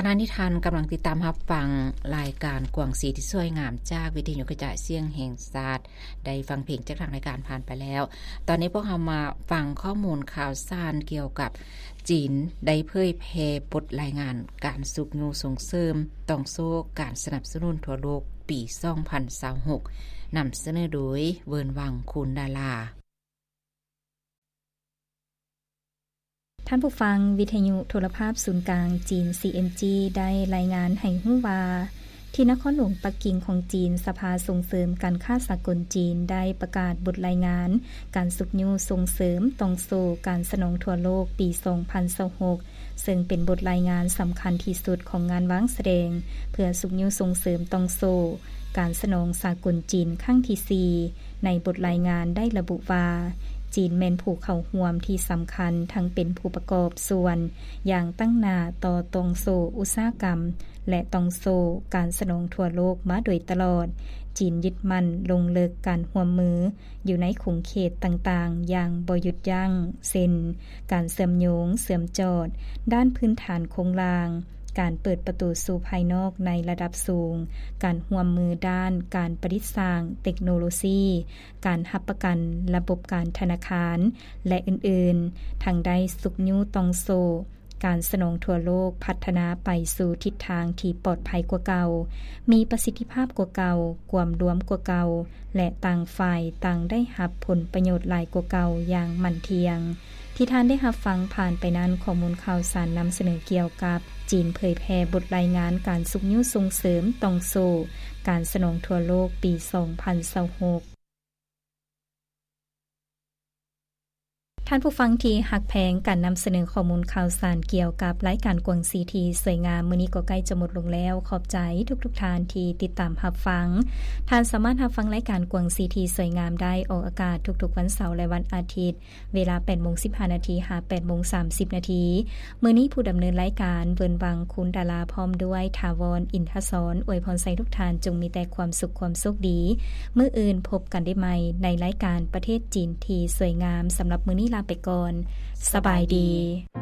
ຂະນະນີ້ທ່ານກຳລັງຕິດຕາມຮັບຟັງລາຍການກວາງຊີທີ່ສວຍງາມຈາກວິທະຍຸກະຈາຍສຽງແຫ່ງຊາດ ໄດ້ຟັງເພງຈາກທາງລາຍການຜ່ານໄປແລ້ວ. ຕອນນີ້ພວກເຮົາມາຟັງຂໍ້ມູນຂ່າວສານກ່ຽວກັບຈີນໄດ້ເຜີຍແຜ່ບົດລາຍງານການຊຸກຍູ້ສົ່ງເສີມຕ່ອງໂສ້ການສະໜັບສະໜູນທົ່ວໂລກປີສອງພັນຊາວຫົກ ນຳສະເໜີໂດຍ ເວີນວັງ ຄູນດາລາ. ທ່ານຜູ້ຟັງ, ວິທະຍຸໂທລະພາບສູນກາງຈີນ CMG ໄດ້ລາຍງານໃຫ້ຮູ້ວ່າ ທີ່ນະຄອນຫຼວງປັກກິ່ງຂອງຈີນ, ສະພາສົ່ງເສີມການຄ້າສາກົນຈີນໄດ້ປະກາດບົດລາຍງານການຊຸກຍູ້ສົ່ງເສີມຕ່ອງໂສ້ການສະໜອງທົ່ວໂລກປີສອງພັນຊາວຫົກ ເຊິ່ງເປັນບົດລາຍງານສຳຄັນທີ່ສຸດຂອງງານວາງສະແດງ ເພື່ອຊຸກຍູ້ສົ່ງເສີມຕ່ອງໂສ້ການສະໜອງສາກົນຈີນຄັ້ງທີສີ່. ໃນບົດລາຍງານໄດ້ລະບຸວ່າ ຈີນແມ່ນຜູ້ເຂົ້າຮ່ວມທີ່ສຳຄັນ ທັງເປັນຜູ້ປະກອບສ່ວນຢ່າງຕັ້ງໜ້າຕໍ່ຕ່ອງໂສ້ອຸດສາຫະກຳ ແລະ ຕ່ອງໂສ້ການສະໜອງທົ່ວໂລກມາໂດຍຕະຫຼອດ. ຈີນຍຶດໝັ້ນລົງເລິກການຮ່ວມມືຢູ່ໃນຂົງເຂດຕ່າງໆຢ່າງບໍ່ຢຸດຢັ້ງ, ເຊັ່ນ ການເຊື່ອມໂຍງ, ເຊື່ອມຈອດດ້ານພື້ນຖານໂຄງລ່າງ, ການເປີດປະຕູສູ່ພາຍນອກໃນລະດັບສູງ, ການຮ່ວມມືດ້ານການປະດິດສ້າງເຕັກໂນໂລຊີ, ການຮັບປະກັນລະບົບການທະນາຄານ ແລະ ອື່ນໆ, ທັງໄດ້ຊຸກຍູ້ຕ່ອງໂສ້ການສະໜອງທົ່ວໂລກພັດທະນາໄປສູ່ທິດທາງທີ່ປອດໄພກວ່າເກົ່າ, ມີປະສິດທິພາບກວ່າເກົ່າ, ກວມລວມກວ່າເກົ່າ ແລະ ຕ່າງຝ່າຍຕ່າງໄດ້ຮັບຜົນປະໂຫຍດຫຼາຍກວ່າເກົ່າຢ່າງໝັ້ນທ່ຽງ. ທີ່ທ່ານໄດ້ຮັບຟັງຜ່ານໄປນັ້ນ ຂໍ້ມູນຂ່າວສານນຳສະເໜີກ່ຽວກັບ ຈີນເຜີຍແຜ່ບົດລາຍງານການຊຸກຍູ້ສົ່ງເສີມຕ່ອງໂສ້ການສະໜອງທົ່ວໂລກປີສອງພັນຊາວຫົກ. ທ່ານຜູ້ຟັງທີ່ຮັກແພງ, ການນຳສະເໜີຂໍ້ມູນຂ່າວສານກ່ຽວກັບລາຍການກວາງຊີທີ່ສວຍງາມມື້ນີ້ກໍໃກ້ຈະໝົດລົງແລ້ວ. ຂອບໃຈທຸກໆທ່ານທີ່ຕິດຕາມຮັບຟັງ. ທ່ານສາມາດຮັບຟັງລາຍການກວາງຊີທີ່ສວຍງາມໄດ້ອອກອາກາດທຸກໆວັນເສົາ ແລະ ວັນອາທິດ ເວລາແປດໂມງສິບຫ້ານາທີ ຫາ ແປດໂມງສາມສິບນາທີ. ມື້ນີ້ຜູ້ດຳເນີນລາຍການ ເວີນວັງ ຄູນດາລາ ພ້ອມດ້ວຍ ຖາວອນ ອິນທະສອນ ອວຍພອນໃສ່ທຸກທ່ານຈົ່ງມີແຕ່ຄວາມສຸກຄວາມໂຊກດີ. ມື້ອື່ນພົບກັນໄດ້ໃໝ່ໃນລາຍການປະເທດຈີນທີ່ສວຍງາມ. ສຳລັບມື້ນີ້ລາໄປກ່ອນ. ສະບາຍດີ.